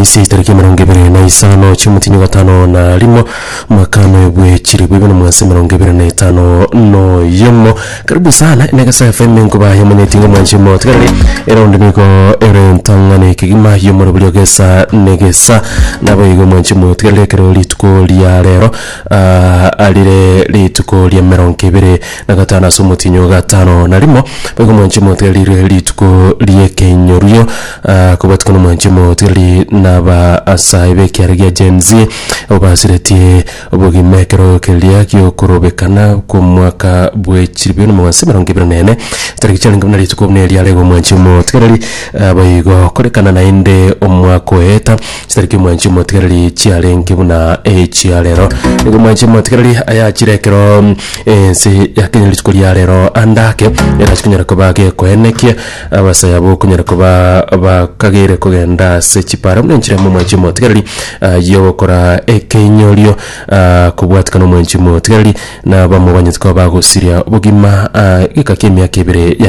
Aramisi tariki 25 chi'omotienyi o gatano na rimo mwaka bwe chilifu ibere na omwase 2051. Karibu sana Negesa FM nkoba yomanyeti ng'a mwanche motigareri eraundi nigo ere ntang'ani kegima y'omorobori ogesa negesa naboigo mwanche motigareri ekero rituko ria rero ah, arire rituko ria 25 ase omotienyi o gatano na rimo boigo mwanche motigareri rituko ri'ekenyorio ah, kobwatikana omwanche motigareri naba asae b'ekiara gia Gen Z obasiretie obogima ekero keria gi'okorobekana kw'omwaka bwe chilifu bibere na omogwansa 24 tariki chiarenge buna rituko buna eria rigo omwanchi omotigareri ah, boigo korekana naende omwaka oeta chitariki omwanchi omotigareri chiarenge buna echia rero. Nigo omwanchi omotigareri ayachire ekero ense ya Kenya rituko ria rero ande ake erachi konyara koba gekoenekia abasae abwo okonyara koba bakageire kogenda ase chipara buna enchera y'omwanchi omotigareri yogokora ekeinyorio kobwatikana omwanchi omotigareri na abamo banyete koba bagosiria obogima geka kia emiaka ebere ya.